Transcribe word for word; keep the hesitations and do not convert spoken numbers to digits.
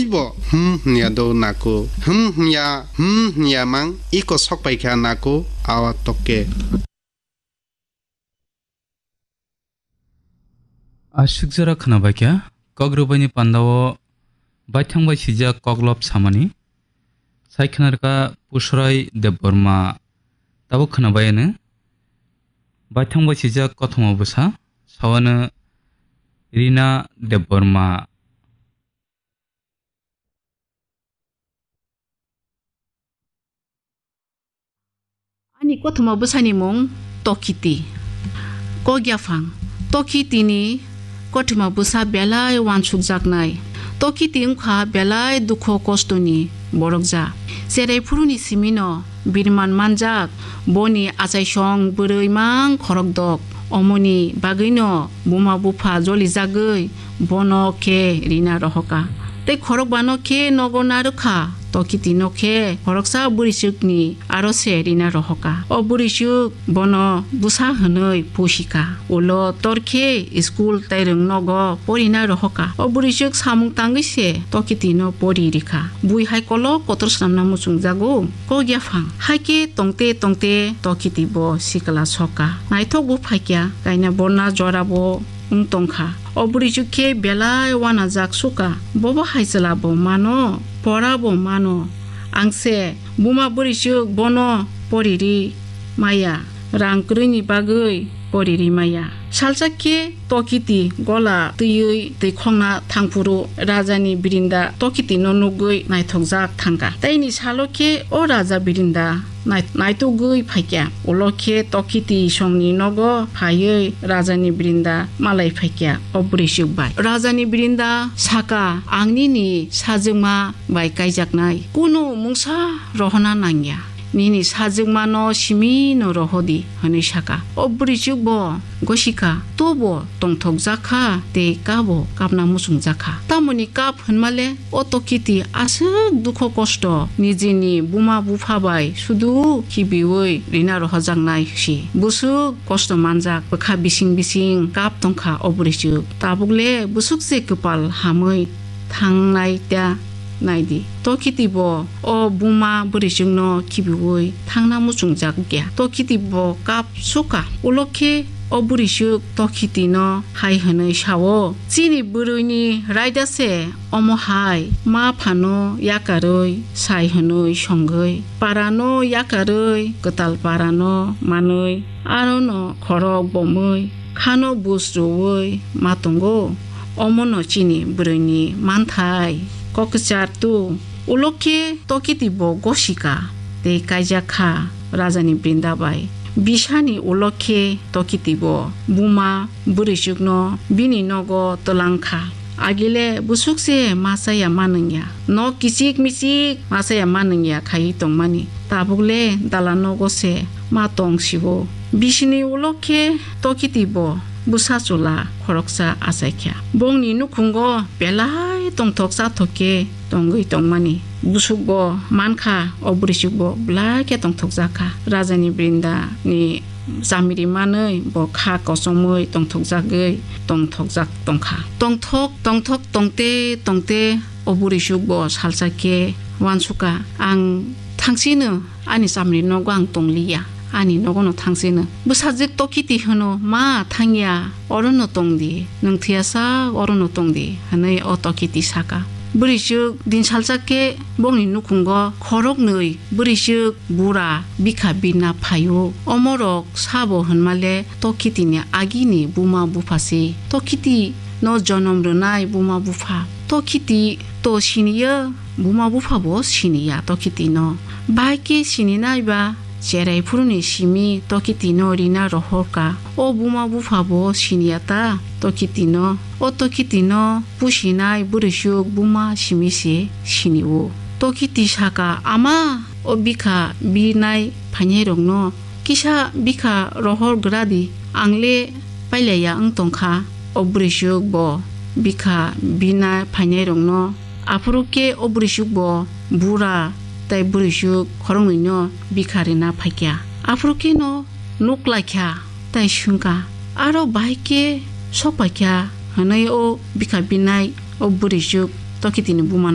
Bo hmm hwnya do nako. Hmm hwnya, hmm hwnya mang iko sok paikha nako awa tokke. Aswk jora khwnabaikha, kok rwbaini pandao baithang bai sijak koklop samani. Sai khwnarwkha Pusrai Debbarma, tabuk khwnabai ano. Baithang bai sijak kothoma bwsa, sawano Rina Debbarma. Ani kothoma bwsani mung Tokiti. Kok yaphang. Tokitini kothoma bwsa belai uansukjaknai. Tokiti wngkha belai dukho kostoni borokja. Cherai phuruni simino birman manjak, boni achaisong bwrwi mang khorokdok. Omoni bagwino buma bupha jolijagwi bono khe rina rohoka. Tei khorokbano khe nogo narwkha, Tokitino khe khoroksa bwrwichwkni aro se rina rohoka. O bwrwichwk bono bwsa hwnwi pusika. Ulo tor khe school tei rwng nogo porina rohoka. O bwrwichwk samung tangwi se Tokitino pori rikha. Bui hai kolok kotor swnamna muchungjago. Kok yaphang. Hai khe tongte tongte Tokiti bo sikla soka. Naithok bo phaikya, kaina borna jora bo wng tongkha. O bwrwichwk khe belai uanajak suka. Bobo hai chwla bo mano, pora bo mano. Ang se buma bwrwichwk bono poriri maya, rang kwrwini bagwi poriri maya. Salsa khe Tokiti gola twiwi twi khongna thangphuru rajani birinda Tokitino nugwi naithokjak thangkha. Teini salo khe o raja birinda nai-, naitugwi phaikya. Ulo khe Tokiti songni nogo phaiwi rajani birinda malai phaikya o bwrwichwk bai. Rajani birinda saka, "Ang nini sajwkma bai kaijaknai. Kunu mungsa rohorna nangya. Nini sajwkmano simino rohodi," hwnwi saka. O bwrwichwk bo gosika, tobo tongthokjak kha tei kabo kapna muchungjak kha. Tamoni kap hwnmale o Tokiti aswk dukho kosto nijini buma bupha bai sudu khibiwi rina rohojaknai si. Bwswk kosto manjak bwkha bising bising kap tongkha o bwrwichwk. Tabukle bwswk se kwpal hamwi thangnai ta naidi. Tokiti bo o buma bwrwichwkno khibiwi thangna muchungjak ya. Tokiti bo kap suka. Ulo khe o bwrwichwk Tokitino hai hwnwi sao, "Chini bwrwini raida se omo hai, ma phano yakarwi sai hwnwi songwi, parano yakarwi kwtal parano manwi, arono khorok bomwi, khano bus rwwi ma tongo. Omono chini bwrwini manthai." Kok kwchar tu. Ulo khe Tokiti bo gosika tei kaijak kha rajani brinda bai. Bisani ulo khe Tokiti bo buma bwrwichwkno bini nogo twlang kha. Agile bwswk se ma chaya ma nungya. Nok kichik michik ma chaya ma nungya khaiwi tongmani. Tabukle dala nogo se ma tong sibo. Bisini ulo khe Tokiti bo bwsa chwla khoroksa achaikha. Bongni nukhungo belai tongthok chathok khe tongwi tongmani. Bwswk bo mankha, o bwrwichwk bo belai khe tongthokjak kha. Rajani brinda ni chamiri manwi bo kha kochomwi tongthokjagwi tongthokjak tongkha. Tongthok, tongthok tongte tongte o bwrwichwk bo salsa khe uansukha, "Ang thangsino ani chamiri nogo ang tongliya, ani nogono thangsino." Bwsajwk Tokiti hwno, "Ma thangya, orono tongdi, nwng thwiyasak orono tongdi," hwnwi o Tokiti saka. Bwrwichwk din salsa khe bongni nukhungo khoroknwi bwrwichwk bura bikha birna phaio. Omorok sabo hwnmale Tokitini agini buma bupha se. Tokiti no jonom rwnai buma bupha. Tokiti to siniya, buma bupha bo siniya Tokiti no. Bahai khe sininai ba cherai phuruni simi Tokiti no rina rohorka. O buma bupha bo siniya ta Tokiti no. O Tokiti no pusinai bwrwichwk buma simi se sinio. Tokiti saka, "Ama, o bikha birnai phainairokno kisa bikha rohor gradi, ang le pailaiya wng tongkha." O bwrwichwk bo bikha birna phainairokno, aphuru khe o bwrwichwk bo bura tei bwrwichwk khoroknwino bikha rina phaikha. Aphuru kheno nuk laikha tei swngkha, "Aro bahai khe sok paikha?" hwnwi o bikha birnai o bwrwichwk Tokitini bumano